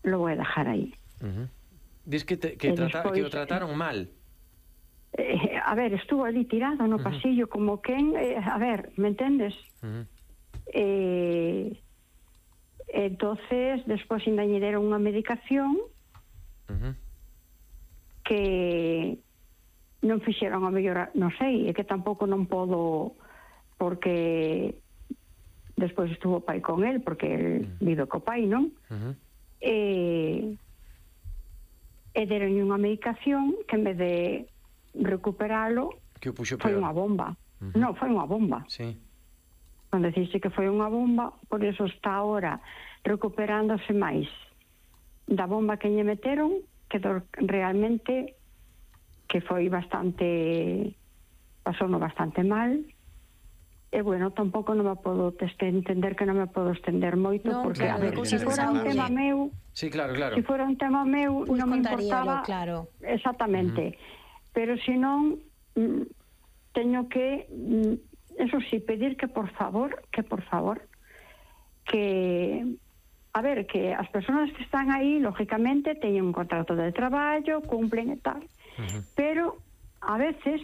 lo voy a dejar ahí. Diz que o trataron mal. A ver, estuvo ali tirado no pasillo como quen, a ver, me entendes? Entonces, despois ainda lle deron unha medicación que non fixeron a mellor, non sei, é que tampouco non podo, porque despois estuvo o pai con el, porque el vive co pai, non? E deron unha medicación que en vez de recuperalo foi unha bomba. Non, foi unha bomba. Sí. Cando dixiste que foi unha bomba, por eso está ahora recuperándose máis da bomba que lle meteron, que realmente que foi bastante, pasouno bastante mal. E bueno, tampouco non me podo entender que non me podo estender moito, porque a ver, se fora un tema meu, sí, claro. Se fora un tema meu, pues non me importaba, claro. Exactamente. Pero se non, teño que, eso sí, pedir que por favor, que, a ver, que as persoas que están aí, lógicamente, teñen un contrato de traballo, cumplen e tal, pero a veces,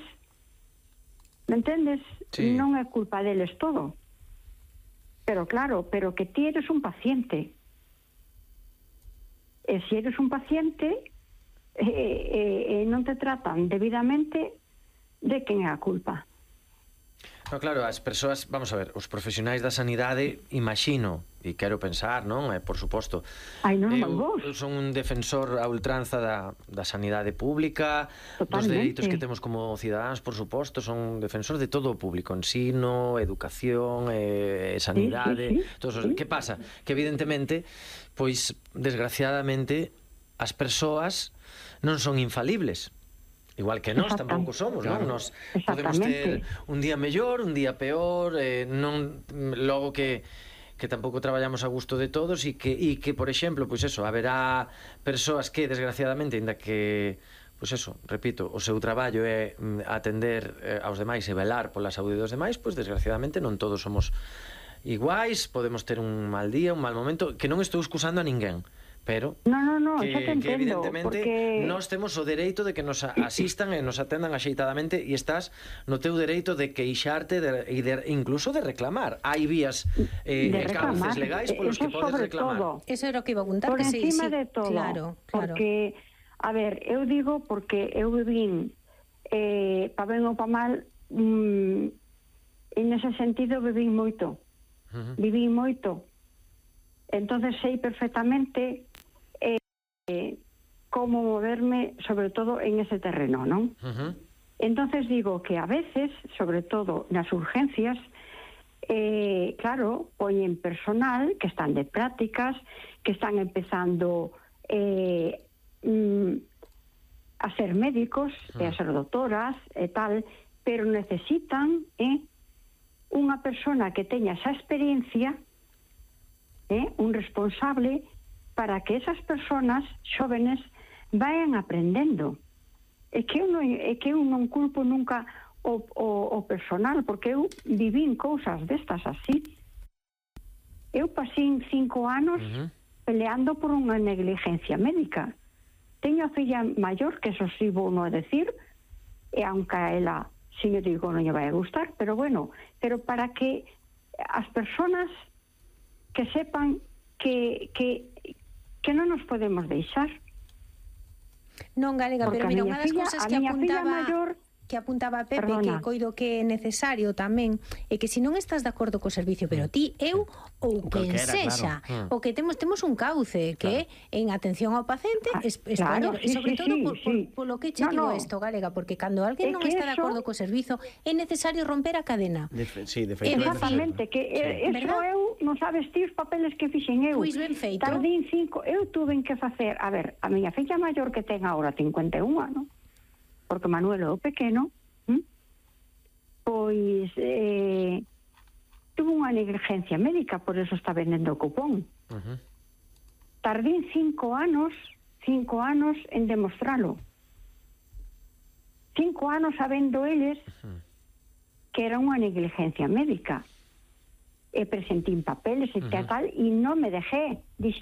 me entendes? Sí. Non é culpa deles todo. Pero claro, pero que ti eres un paciente. E se eres un paciente e non te tratan debidamente, de quen é a culpa? No, claro, as persoas, vamos a ver, os profesionais da sanidade, imagino, e quero pensar, non? Por suposto. Eu son un defensor a ultranza da sanidade pública, dos dereitos que temos como cidadáns, por suposto, son un defensor de todo o público, ensino, educación, sanidade, todos. Que pasa? Que evidentemente, pois, desgraciadamente, as persoas non son infalibles. Igual que nós tampouco somos, non? Nós podemos ter un día mellor, un día peor, non logo que tampouco traballamos a gusto de todos e que, por exemplo, pois eso, haberá persoas que, desgraciadamente, ainda que, pois eso, repito, o seu traballo é atender aos demais e velar pola saúde dos demais, pois desgraciadamente non todos somos iguais, podemos ter un mal día, un mal momento, que non estou excusando a ninguén, pero que evidentemente nós temos o dereito de que nos asistan e nos atendan axeitadamente, e estás no teu dereito de queixarte e incluso de reclamar. Hai vías cauces legais polos que podes reclamar. Eso era o que iba a apuntar. Por encima de todo, claro. Porque, a ver, eu digo porque eu vivín pa ben ou pa mal, en ese sentido vivín moito. Entonces sei perfectamente como moverme, sobre todo en ese terreno, ¿no? Entonces digo que a veces, sobre todo nas urgencias, claro, poñen personal que están de prácticas, que están empezando a ser médicos, a ser doctoras e tal, pero necesitan unha persona que teña esa experiencia, un responsable, para que esas personas xóvenes vayan aprendendo. É que eu non culpo nunca o personal, porque eu vivín cousas destas así. Eu pasín 5 anos peleando por unha negligencia médica. Teño a filla maior, que eso sí vou non decir, e aunque a ela, si eu digo, non lle vai a gustar, pero bueno, pero para que as persoas que sepan que non nos podemos deixar. Non, Galega, pero mira, unha das cousas que apuntaba Pepe, que coido que é necesario tamén, é que se non estás de acordo co servicio, pero ti, eu ou quen sexa, o que temos un cauce que é en atención ao paciente, expoñer, e sobre todo polo que che digo isto, Galega, porque cando alguén non está de acordo co servizo, é necesario romper a cadena. Exactamente, que eso eu non sabes ti os papeles que fixen eu. Pois ben feito. Tardín 5, eu tuve que facer, a ver, a miña filla maior que ten agora 51 anos, porque Manuel é o pequeno, pois tuvo unha negligencia médica, por eso está vendendo o cupón. Tardín 5 anos en demostralo. 5 anos sabendo eles que era unha negligencia médica. E presentín papeles e tal, e non me dejé. Dixe,